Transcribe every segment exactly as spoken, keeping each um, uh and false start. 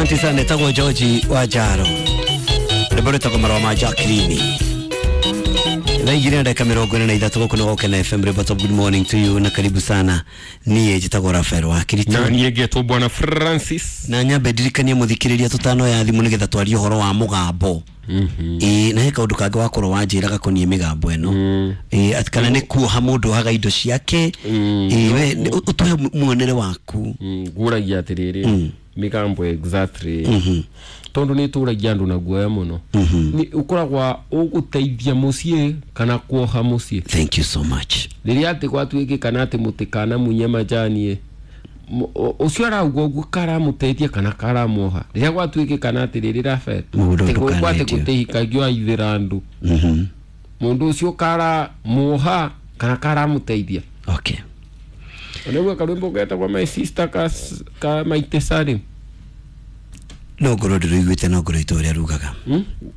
Asante sana tagwo George wa Jaro. Rwĩmbo rwĩtagwo Marũa ma Jacqueline. Thaa igĩrĩ na ndagĩka mĩrongo ĩna na ithatũ gũkũ nĩ Gũkena F M. Rwĩmbo Top. Good morning to you na karibu sana. Niĩ njĩtagwo Rafael wa Kirito. Na niĩ ngetwo Bwana Francis. Na nyambe ndirikanie mũthikĩrĩria tũtano ya thimũ nĩgetha twarie ũhoro wa mũgambo. Ĩĩ na he kaũndũ kangĩ wakorwo wanjĩra gakoniĩ mĩgambo ĩno. Ĩĩ atĩ kana nĩ kuoha mũndũ ohaga indo ciake. Ĩĩ we ũtũhe muonere waku. Ngũragia atĩrĩrĩ mĩgambo exactly tondu nä tå ragia andå na guoya må no å ũgũteithia mũciĩ kana kuoha mũciĩ. Thank you so much. Rĩrĩa atĩ gwatuĩke kana atĩ mũtikana munye majani ũcio arauga ũguo karamũteithia kana karamuoha. Rĩrĩa gwatuĩke kana atĩ rĩrĩ Rafael gwatĩ gũtĩhikagio aithĩra andũ mũndũ ũcio karamuoha kana karamũteithia. Okay. Onegua karwĩmbo getagwo My Sister ka ka Maite Salim. No ngorwo ndĩrũiguĩte no ngorwo itũ ũrĩa rugaga.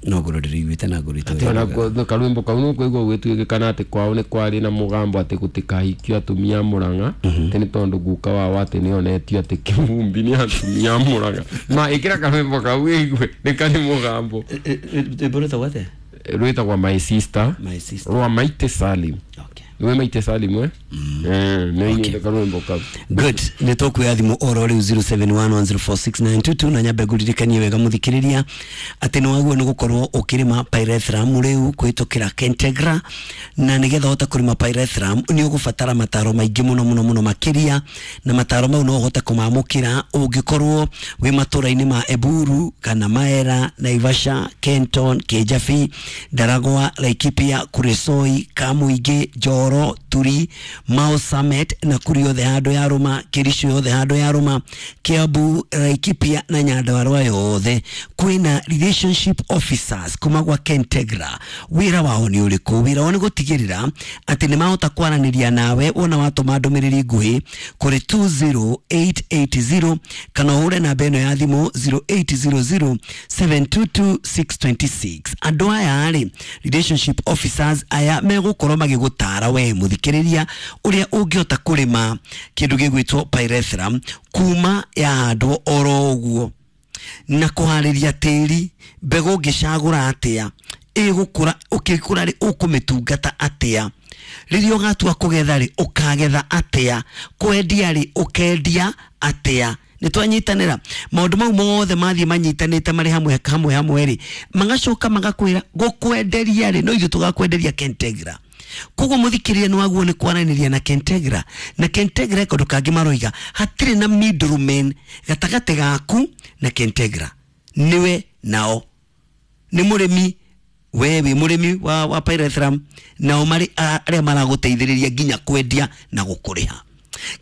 No ngorwo ndĩrũiguĩte na ngorwo itũ ũrĩa rugaga. Karwĩmbo kau nĩũkũigua gwĩtuĩke kana atĩ kwao nĩ kwarĩ na mũgambo atĩ gũtikahikio atumia a Mũrang'a atĩ nĩ tondũ guka wao atĩ nĩonetio atĩ kĩvumbi nĩ atumia a Mũrang'a. Ma ĩkĩra karwĩmbo kau wĩigue nĩ karĩ mũgambo. Rwĩmbo rwĩtagwo atĩa? Rwĩtagwo My Sister. My Sister. Rwa Maite Salim. Okay. Nĩwe Maite Salim we? Eh, nĩ karwĩmbo kau. Good. Nĩ tũkuoya thimũ oro rĩu zero seven one one zero four six nine two two na nyambe ngũririkanie wega mũthikĩrĩria atĩ nĩ wagĩrĩirwo nĩ gũkorwo ũkĩrĩma pyrethrum rĩu kũhĩtũkĩra Kentegra, na nĩgetha ũhote kũrĩma pyrethrum nĩ ũgũbatara mataro maingĩ mũno mũno mũno makĩria, na mataro mau no ũhote kũmamũkĩra ũngĩkorwo wĩ matũra-inĩ ma Eburu kana Maera, Naivasha, Kenton, Kijabi, Ndaragwa, Laikipia, Kuresoi, Kamuingĩ, Njoro, Turi, Mau Summit na kuri yothe handũ ya Rũma, Kericho yothe handũ ya Rũma, Kiambu, Laikipia na Nyandarua yothe. Kwĩna relationship officers kuma gwa Kentegra. Wĩra wao nĩ ũrĩkũ? Wĩra wao nĩ gũtigĩrĩra atĩ nĩ mahota kwaranĩria nawe wona watũma ndũmĩrĩri nguhĩ kũrĩ two zero eight eight zero kana ũhũre namba ĩno ya thimũ zero eight zero zero seven two two six two six. Andũ aya rĩ, relationship officers aya megũkorwo magĩgũtara we mũthikĩrĩria ũrĩa ũngĩhota kũrĩma kĩndũ gĩgwĩtwo pyrethrum kuma yahandwo oro ũguo, na kũharĩria tĩri, mbegũ ũngĩcagũra atĩa, ĩgũkũra ũkĩkũra rĩ ũkũmĩtungata atĩa, rĩrĩa ũgatua kũgetha rĩ ũkagetha atĩa, kwendia rĩ ũkendia atĩa. Nĩ twanyitanĩra maũndũ mau mothe mathiĩ manyitanĩte marĩ hamwe hamwe hamwe rĩ, magacoka magakwĩra gũkwenderia rĩ no ithuĩ tũgakwenderia Kentegra. Koguo mũthikĩrĩria nĩ waguo nĩ kwaranĩria na Kentegra, na Kentegra kaũndũ kangĩ maroiga hatirĩ na middleman gatagatĩ gaku na Kentegra, nĩwe nao nĩ mũrĩmi, we wĩ mũrĩmi wa, wa pyrethrum, nao marĩ arĩa maragũteithĩrĩria nginya kwendia na gũkũrĩha.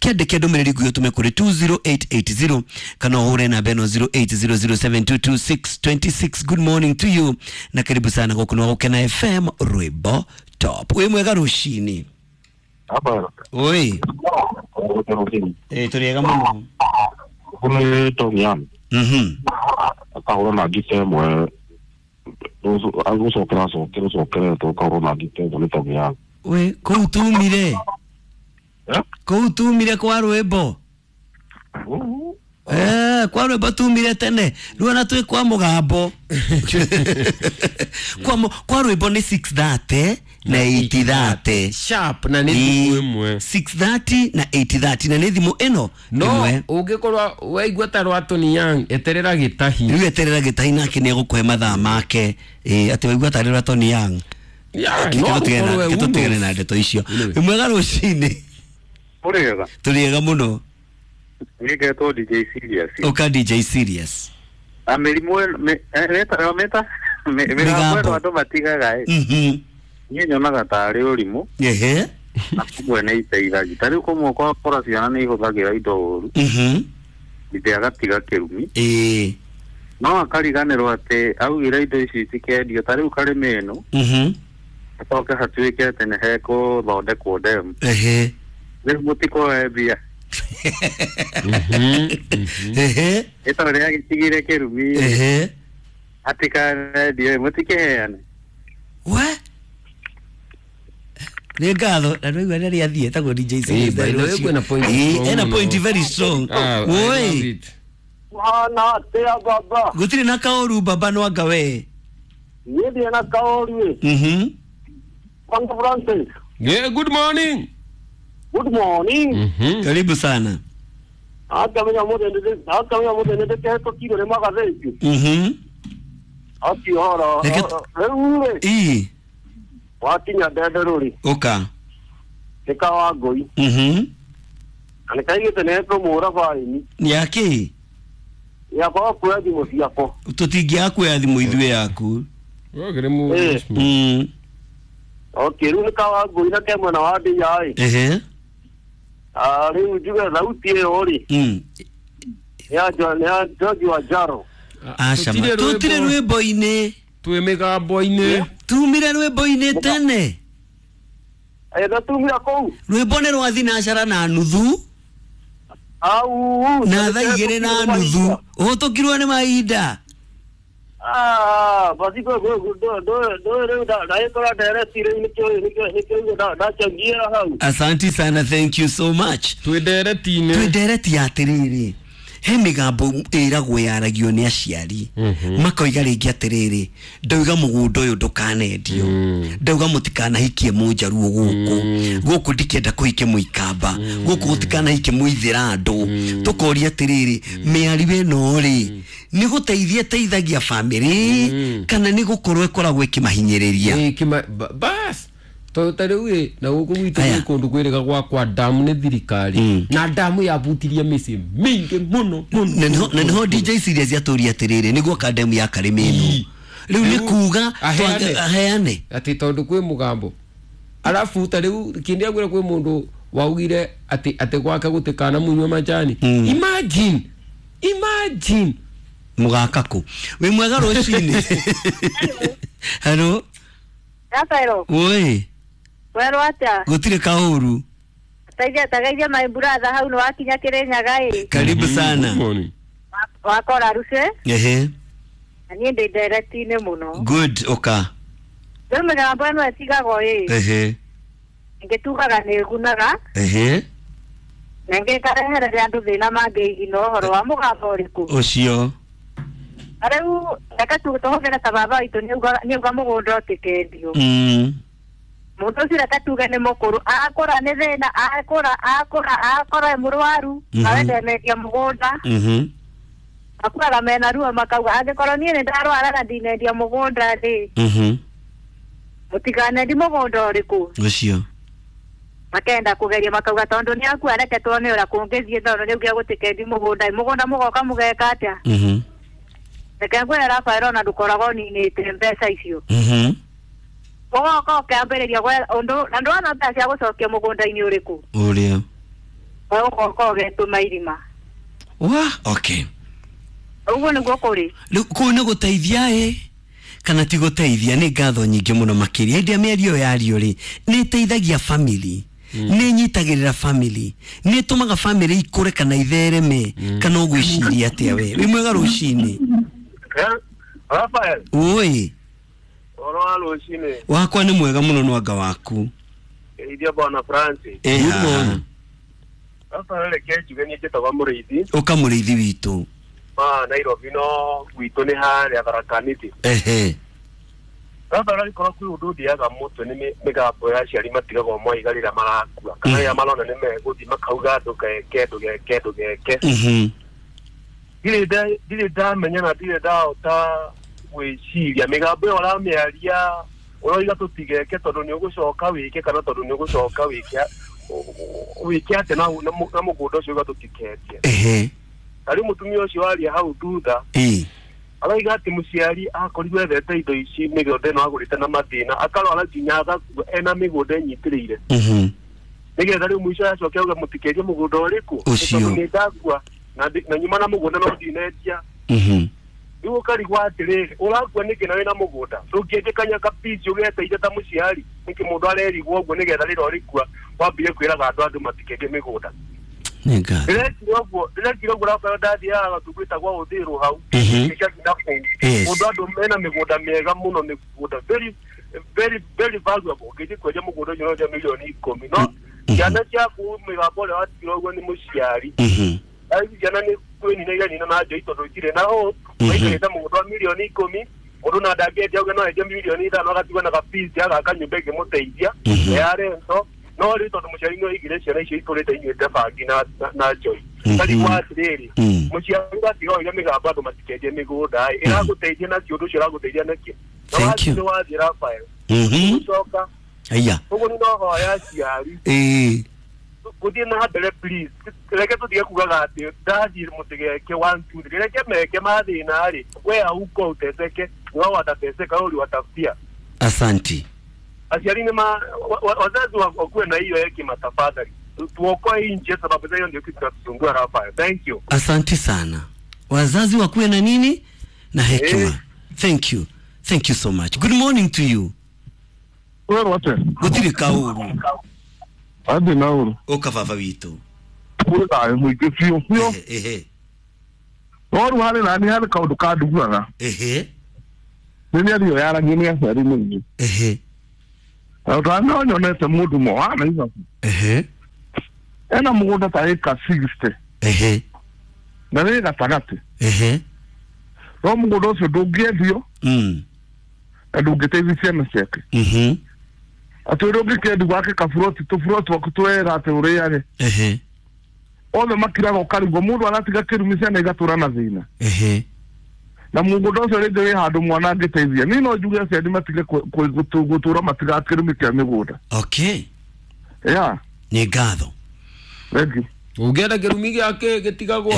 Kĩandĩke ndũmĩrĩri nguhĩ ũtũme kũrĩ two zero eight eight zero kana ũhũre namba ĩno zero eight zero zero seven two two six two six. Good morning to you na karibu sana gũkũ nĩ Gũkena F M Rwĩmbo Top. Wĩ mwega rũcinĩ. Oi. Eh, tũrĩega mũno. Kũrĩ Tony. Mhm. Akahũra na ngita ĩmwe agũcokera acokere ũcokeretwo ũkahũra na ngita ĩmwe nĩ Tony. We kũu tumire. Kũu tumire kwa rwĩmbo. Eh, kwa rwĩmbo tumire tene. Rĩu ona twĩ kwa mũgambo. Kwa kwa rwĩmbo nĩ six thirty na eight thirty. Sharp na nĩ thimũ ĩmwe. six thirty na eight thirty na nĩ thimũ ĩno ĩmwe. No ũngĩkorwo waigua ta rwa Tony Young eterera gĩtahi. Rĩu eterera gĩtahi nake nĩ egũkũhe mathaa make. Eh, atĩ waigua ta rwa Tony Young. Yeah, no tũtigane na ndeto icio. Wĩ mwega rũcinĩ. Mũrĩega. Tũrĩega mũno. Niĩ ngetwo D J Serious. Ũka D J Serious. Na mĩrimũ ĩno mĩta mĩgambo ĩno andũ matigaga ĩ. Mhm. Niĩ nyonaga tarĩ ũrimũ. Ehe. Na kũmwe nĩ iteithagia. Ta rĩu kũmwe ũgakora ciana nĩ ihũthagĩra indo ũru. Mhm. Ithe agatiga kĩrumi. Ĩĩ. No akariganĩrwo atĩ augire indo ici itikendio ta rĩu karĩmĩ ĩno. Mhm. Acoke hatuĩke atĩ nĩ hekũthondekwo demu. Ehe. Rĩu mũtikoe mbia. Ehe. Ĩtondũ rĩagĩtigire kĩrumi. Ehe. Atikanendio mũtikĩheane. We? Nĩ ngatho na nĩwaigua rĩrĩa athiĩ etagwo D J Serious. By the way, kwĩna point Ĩĩ, strong ena mũno. point very strong. Ah, I Woi. love it. Hana atia baba. Gutire na kaoru baba no anga we. Niĩ ndirĩ na kaoru ĩ. Mhm. Kwanza Francis. Yeah, good morning. Good morning. Mhm. Karibu sana. Akamenya mũthĩ ndĩ akamenya mũthĩ nĩ ndĩkĩhetũkirwo nĩ magathĩti. Mhm. Ati horo. Reke t- Rĩu rĩ Ii. wakinya ndende rũri Uka. nĩ kawa ngũi. Mhm. Na nĩ kaigĩte nĩ tũmũra baini. Yake. Yakwa kuoya thimũ ciakwa. Tutingia kuoya thimũ ithuĩ yaku. Wagire mu. Eh. Mm. Okay, rĩu nĩ kawa ngũi na ke mwena wa ndĩa ĩ. Ehe. Ah, rĩu njuge thauti ĩyo rĩ Mm. nĩ ya Jo- nĩ ya George wa Jaro. Aca ma. Tutire rwĩmbo-inĩ. Twĩ mĩgambo-inĩ. Tumire rwĩmbo-inĩ tene. Eh, na tumira kũu. Rwĩmbo nĩ rwa thinacara na nuthu. Au. Na thaa igĩrĩ na nuthu. Ũhĩtũkirwo nĩ mahinda. Ah, basi kwa kwa ndo ndo ndo rĩu nda ndagĩkora ndereti rĩu nĩkĩo nĩkĩo nĩkĩo nda ndachangia hau. Asanti sana, thank you so much. Twĩ ndereti-inĩ. Twĩ ndereti ya atĩrĩrĩ he mĩgambo ĩragwo yaragio nĩ aciari makoiga rĩngĩ atĩrĩrĩ ndauga mũgũnda ũyũ ndũkanendio ndauga mũtikanahikie mũnjaruo gũkũ gũkũ ndikenda kũhike mũikamba gũkũ gũtikanahikie mũithĩrandũ tũkoria atĩrĩrĩ mĩario ĩno rĩ nĩ gũteithia ĩteithagia bamĩrĩ kana nĩ gũkorwo ĩkoragwo ĩkĩmahinyĩrĩria. Ĩ, kĩma ba- bas tondũ ta rĩu ĩ na gũkũ gwitũ Aya. gwĩ kũndũ kwĩrĩga gwakwa damu nĩ thirikari Mm. na damu yabutirie mĩciĩ mĩingĩ mũno mũno na niho na niho D J Serious yatũria atĩrĩrĩ nĩguo kandemu ya karĩmĩ ĩno rĩu nĩ Rĩu, kuga aheane. twa- aheane atĩ tondũ kwĩ mũgambo arabu ta rĩu kĩndĩ agwĩra kwĩ mũndũ waugire atĩ atĩ gwake gũtikana munywe majani. Mm. Imagine, imagine mũgaka kũ wĩ mwega rũcinĩ. Hello. Rafaelo, Oi. werwo atĩa? Gũtirĩ kaũru. Teithia tegeithia my brother hau nĩ wakinya Kĩrĩnyaga ĩ. Karibu sana. Good morning. Wakora ruce Ehe. na niĩ ndĩ ndereti-inĩ mũno. Good oka. Rĩu mĩgambo ĩno ĩtigagwo ĩ Ehe. ĩngĩ tugaga nĩ ĩgunaga Ehe. na ĩngĩ ĩkarehereria andũ thĩna mangĩigina ũhoro wa mũgambo ũrĩkũ. Ũcio. Na rĩu reke tu tũhũthĩre ta baba witũ nĩauga nĩauga mũgũnda ũtĩkendio. Mm. Mũndũ ũcio reke tuge nĩ mũkũrũ akũra nĩ thĩna akũra akũra akora e mũrwaru Mhm. nawe ndenendia mũgũnda. Mhm. Makuaga mena ruo makauga angĩkorwo niĩ nĩ ndarwara na ndinendia mũgũnda rĩ Mhm. mũtikanendi mũgũnda ũrĩkũ. Ũcio. Makenda kũgeria makauga tondũ nĩ akua reke tuone ũrĩa kũngĩthiĩ tondũ nĩ augire gũtikendi mũgũnda mũgũnda mũgoka mũgeka atĩa. Mhm. Reke ngwĩre Rafael ona ndũkoragwo ũninĩte mbeca icio. Mhm. Ũgoka ũkĩambĩrĩria gwetha ũndũ na ndwona mbeca cia gũcokia mũgũnda-inĩ ũrĩkũ. Ũrĩa. We ũgoka ũgetũma irima. Wa, okay. Ũguo nĩguo kũrĩ. Rĩu kũu nĩ gũteithia ĩ kana ti gũteithia nĩ ngatho nyingĩ mũno makĩria hĩndĩ ĩrĩa mĩario yario rĩ nĩ ĩteithagia family nĩ ĩnyitagĩrĩra family nĩ ĩtũmaga family ikũre kana ithereme kana ũgwĩciria atĩa we wĩ mwega rũcinĩ. Rafael, Oi. ũhoro wa rũcinĩ. Wakwa nĩ mwega mũno nwanga waku. Ithia bwana Francis. Ĩ Good haha. morning. Rafael reke njuge niĩ njĩtagwo Mũrĩithi. Ũka mũrĩithi witũ. Ma Nairobi no gwitũ nĩ harĩa Tharaka Nithi. Ehe. Rafael angĩkorwo kwĩ ũndũ ũthiaga mũtwe nĩ mĩ- mĩgambo ya aciari matigagwo moiga rĩrĩa marakua kana rĩrĩa marona nĩ megũthiĩ makauga ndũgeke ndũgeke ndũgeke. Mhm. Ndirĩ nda- ndirĩ ndamenya na ndirĩ ndahota gwĩciria mĩgambo ĩyo ũramĩaria ũroiga tũtigeke tondũ nĩ ũgũcoka wĩke kana tondũ nĩ ũgũcoka wĩke wĩke atĩa na na mũ- na mũgũnda ũcio ũiga tũtikendie. Ehe. Ta rĩu mũtumia ũcio waria hau thutha Ĩ. arauga atĩ mũciari akorirwo ethete indo ici mĩgũnda ĩno agũrĩte na mathĩna akarwara nginya agakua ena mĩgũnda ĩnyitĩrĩire Mhm. nĩgetha rĩu mũico acoke auge mũtikerie mũgũnda ũrĩkũ Ũcio. tondũ nĩ ndakua na ndi- na nyuma na mũgũnda no ndinendia. Mhm. Rĩu ũkarigwo atĩrĩrĩ ũrakua nĩkĩ na wĩna mũgũnda ndũngĩendekania kapici ũgeteire ta mũciari nĩkĩ mũndũ arerigwo ũguo nĩgetha rĩrĩa ũrĩkua wambire kwĩraga andũ andũ matikendie mĩgũnda. Nĩ ngatho. Ndĩrekire ũguo ndĩrekire ũguo Rafael ndathiaga gatungũ gwĩtagwo Ũthĩrũ hau Mhm. gĩcakinda kũu Yes. mũndũ andũ mena mĩgũnda mĩega mũno mĩgũnda very very very valuable ũngĩthiĩ kwendia mũgũnda ũcio no wendia mirioni ikũmi no Mhm. ciana ciaku mĩgambo ũrĩa watigirwo ũguo nĩ mũciari Mhm. ciana nĩ kwĩnina iranina na njoi tondũ itirĩ na hope maikarĩte mũgũnda wa mirioni ikũmi mũndũ na ndangĩendia auge no endie mirioni ithano agatigwo na gabici agaka nyũmba ĩngĩmũteithia ya rento no rĩu tondũ mũciari nĩ oigire ciana icio itũrĩte inyuĩte bangi na na njoi tarigwo atĩrĩrĩ mũciari gatiga oige mĩgambo andũ matikendie mĩgũnda ĩ ĩragũteithia nakĩ ũndũ ũcio ũragũteithia nakĩ na wathiĩ nĩ wathiĩ Rafael gũcoka aya ũguo nĩ nohoya aciari ĩĩ gũthiĩ na mbere please reke tũtige kugaga atĩ ndathiĩ mũtigeke one two three reke meke mathĩna rĩ we auko uteseke wao watateseka wewe uliwatafutia asanti aciari nĩ ma wazazi wakuwe na hiyo hekima tafadhali tuokoe hii nchi sababu hiyo ndio kitu kinatusumbua Rafael thank you asanti sana wazazi wakuwe na nini na hekima eh. Thank you thank you so much good morning to you wewe wate gutiri kauru andi nauru uka baba witu kuri thayo muingi biũ biũ ehe no rĩu harĩ nani harĩ kaũndũ kanduguaga ehe nĩ mĩario yaragio nĩ aciari mũingĩ ehe tondũ no nyonete mũndũ moha na ehe ena mũgũnda ta ĩka sixty ehe na nĩ gatagatĩ ehe no mũgũnda ũcio ndũngĩendio mm na ndũngĩteithia ciana ciake mhm atĩ ũrĩa ũngĩkĩendia gwake kaburoti tũburoti twaku twega atĩ ũrĩage ehe othe makiraga ũkarigwo mũndũ aratiga kĩrumi ciana igatũra na thĩna ehe na mũgũnda ũcio rĩngĩ wĩ handũ mwana angĩteithia niĩ no njuge aciari matige gũtũra matiga kĩrumi kĩa mĩgũnda okay yeah nĩ ngatho thank you ũngĩenda kĩrumi gĩake gĩtigagwo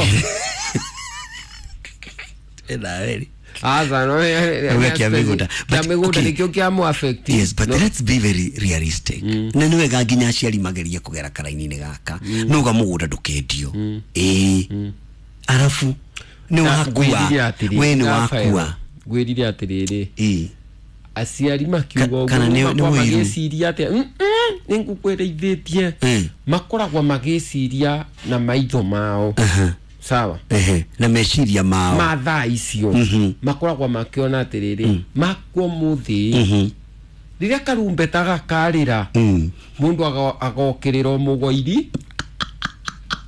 ĩna Aza no Auga kĩa mĩgũnda. Kĩa But, mĩgũnda okay. nĩkĩo kĩamũ affect Yes, but no. let's be very realistic. Mm. Na nĩ wega nginya aciari magerie kũgera karaini-inĩ gaka mm. Nuga mũgũnda ndũkendio mm. Ĩĩ mm. Arabu nĩ wakua we nĩ wakua ngwĩrire atĩrĩrĩ ĩĩ aciari makiuga ũguo kana nĩ makoragwo ũiru magĩciria atĩa nĩ ngũkwĩrĩithĩtie makoragwo magĩciria na maitho mao uh-huh. sawa ehe na meciria mao ma thaa icio mm-hmm. makoragwo makiona atiriri mm. makwo muthi mm-hmm. riria karumbeta gakarira mm. mundu agokirira mugoiri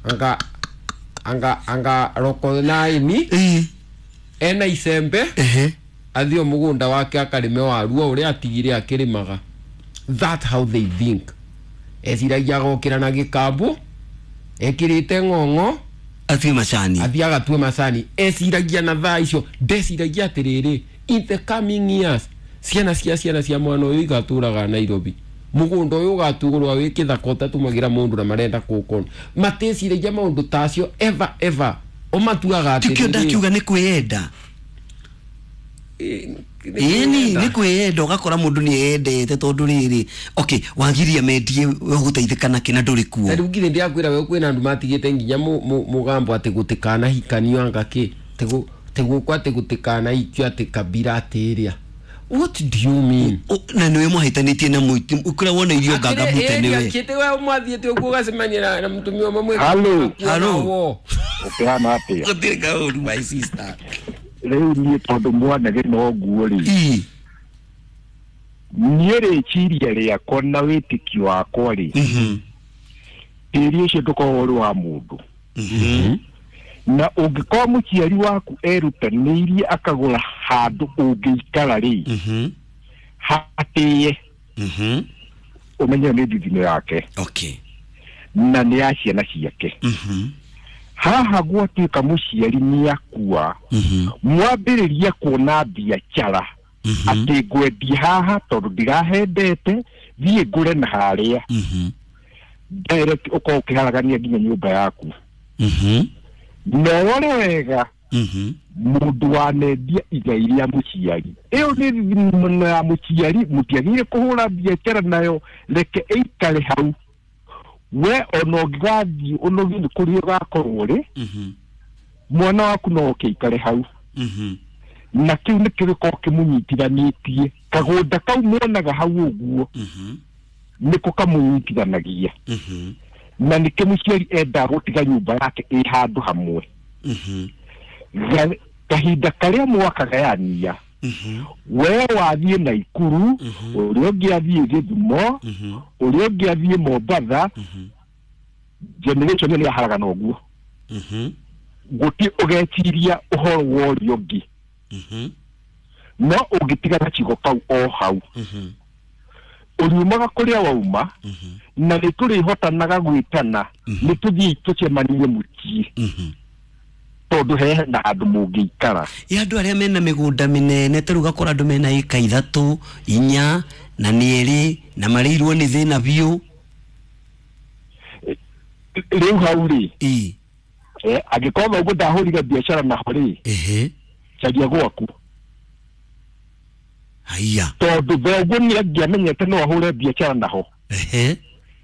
anga anga anga roko naini mm. ena icembe ehe athio mugunda wake akarime waruo uria atigire akirimaga that how they think eciragia agokira na gikambu ekirite ng'ong'o athie macani athie agatue macani eciragia na thaa icio ndeciragia atiriri in the coming years ciana cia ciana cia mwana uyu igaturaga Nairobi mugunda uyu ugatugurwa wi kithaka utatumagira mundu na marenda kukona mateciragia maundu tacio ever ever omatuaga atiriri tikio ndakiuga ni kwiyenda ĩni nĩ kwĩyenda ũgakora mũndũ nĩ eyendete tondũ rĩrĩ okay wagiria mendie ũgũteithĩka nakĩ na ndũrĩ kuo rĩu ngithĩ ndĩrakwĩra we kwĩna andũ matigĩte nginya mũgambo atĩ gũtikanahikanio anga kĩ tĩgũkũ atĩ gũtikanahikio atĩ kabira atĩ ĩrĩa what do you mean na nĩwe mwahĩtanĩtie na mũiti kũrĩa wona irio ngangamute nĩwe kĩte we mwathiĩte ũguo ũgacemania na mũtumia ũmwe mwĩ Hello. Hello. Ũkĩhana atĩa gũtirĩ kaũru my sister rĩu niĩ tondũ mwanage no nguo rĩ niĩ rĩciria rĩakwa na wĩtĩkio wakwa rĩ tĩri ũcio ndũkoragwo ũrĩ wa mũndũ na ũngĩkorwo mũciari waku erutanĩirie akagũra handũ ũngĩikara rĩ hatĩe ũmenye nĩ ndithino yake okay na nĩ ya ciana ciake haha gwatuĩka mũciari nĩ akua mwambĩrĩria kuona biacara atĩ ngwendia haha tondũ ndirahendete thiĩ ngũre na harĩa direct ũkorwo ũkĩharagania nginya nyũmba yaku na ũrore wega mũndũ wanendia igai rĩa mũciari ĩyo nĩ thimũ ya mũciari mũtiagĩrĩire kũhũra biacara nayo reke ĩikare hau we ona ũngĩgathiĩ ũnogio nĩ kũrĩa ũgakorwo rĩ mwana waku no oke aikare hau na kĩu nĩkĩo gĩkoragwo kĩmũnyitithanĩtie kagũnda kau muonaga hau ũguo nĩko kamũnyitithanagia na nĩkĩo mũciari endaga gũtiga nyũmba yake ĩ handũ hamwe kahinda karĩa mwakagayania we wathiĩ Naikuru ũrĩa ũngĩ athiĩ Gĩthumo ũrĩa ũngĩ athiĩ Mombatha generation ĩyo nĩ yaharagana ũguo Guti ugeciria uhoro worio ngi. Mhm. No ungitiga gacigo kau o hau. Mhm. Uriumaga kuria wauma na nĩ tũrĩhotanaga gwĩtana nĩ tũthiĩ tũcemanie mũciĩ tondũ he na handũ mũngĩikara. Ĩ andũ arĩa mena mĩgũnda mĩnene ta rĩu ũgakora andũ mena ĩka ithatũ inya na nĩ ĩrĩ na marĩirwo nĩ thĩna biũ. Rĩu hau rĩ ĩ angĩkorwo thoguo ndahũrire biacara naho rĩ, ehe, caria gwaku. Haiya, tondũ thoguo nĩ angĩamenyete no ahũre biacara naho, ehe,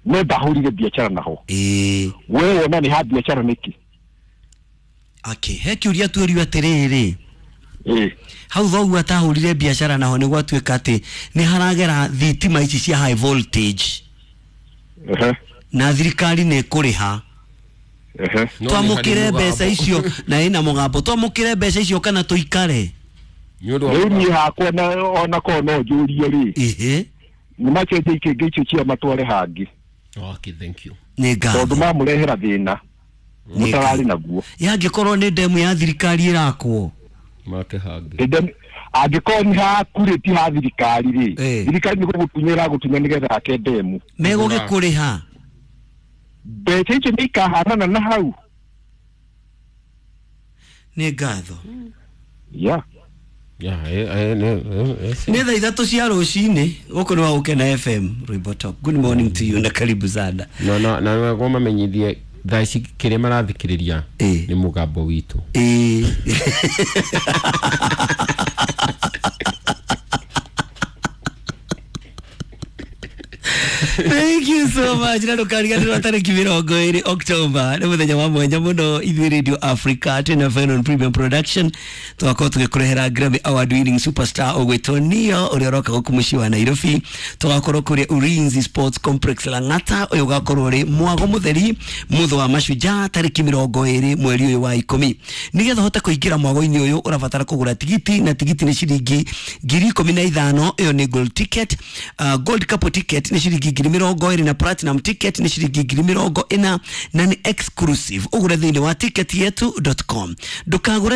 no ndahũrire biacara naho. Ĩ we wona nĩ ha biacara nĩkĩ? Okay, he kĩũria tuĩrio atĩrĩrĩ, ĩ hau thoguo atahũrire biacara naho nĩ gwatuĩka atĩ nĩ haragera thitima ici cia high voltage, ehe, na thirikari nĩ ĩkũrĩha. Ehe, twamũkĩre mbeca icio na ĩna mũgambo, twamũkĩre mbeca icio kana tũikare? Rĩu niĩ hakwa na ona korwo no njũrie rĩ, ehe, nĩ macenjie ikĩngĩ icio cia matware hangĩ. Okay, thank you. Nĩ ngatho tondũ mamũrehera thĩna mũtararĩ naguo. Yangĩkorwo nĩ ndemu ya thirikari ĩrakwo make hangĩ, angĩkorwo nĩ hakurĩ ti ha thirikari rĩ, thirikari nĩ gũgũtunya ĩragũtunya nĩgetha ake ndemu, megũgĩkũrĩha mbeca icio nĩ ikahanana na hau. Nĩ ngatho. Yeah. Yeah, eh, eh, nĩ thaa ithatũ cia rũcinĩ gũkũ nĩ wa Gũkena F M Rwimbo Top. Good morning to you na karibu sana. No no na nĩguo mamenyithie thaa ici kĩrĩa marathikĩrĩria nĩ mũgambo witũ. Ĩ Thank you so much. Na ndũkariganĩrwo tarĩki mĩrongo ĩrĩ October nĩ mũthenya wa mwanya mũno ithuĩ Radio Africa twĩna Fenon Premium Production tũgakorwo tũgĩkũrehera Grammy Award winning superstar ũgwĩtwo Neo ũrĩa ũroka gũkũ mũciĩ wa Nairobi. Tũgakorwo kũrĩa Ulinzi Sports Complex Lang'ata, ũyũ ũgakorwo ũrĩ mwago mũtheri mũthũ wa mashujaa tarĩki mĩrongo ĩrĩ mweri ũyũ wa ikũmi. Nĩgetha ũhote kũingĩra mwago-inĩ ũyũ ũrabatara kũgũra tigiti, na tigiti nĩ ciringi ngiri ikũmi na ithano, ĩyo nĩ gold ticket. Uh, gold couple ticket nĩ ciringi ngiri mĩrongo ĩrĩ na platinum ticket nĩ ciringi ngiri mĩrongo ĩna na nĩ exclusive. Ũgũre thĩinĩ wa ticket yetu dot com. Ndũkagũre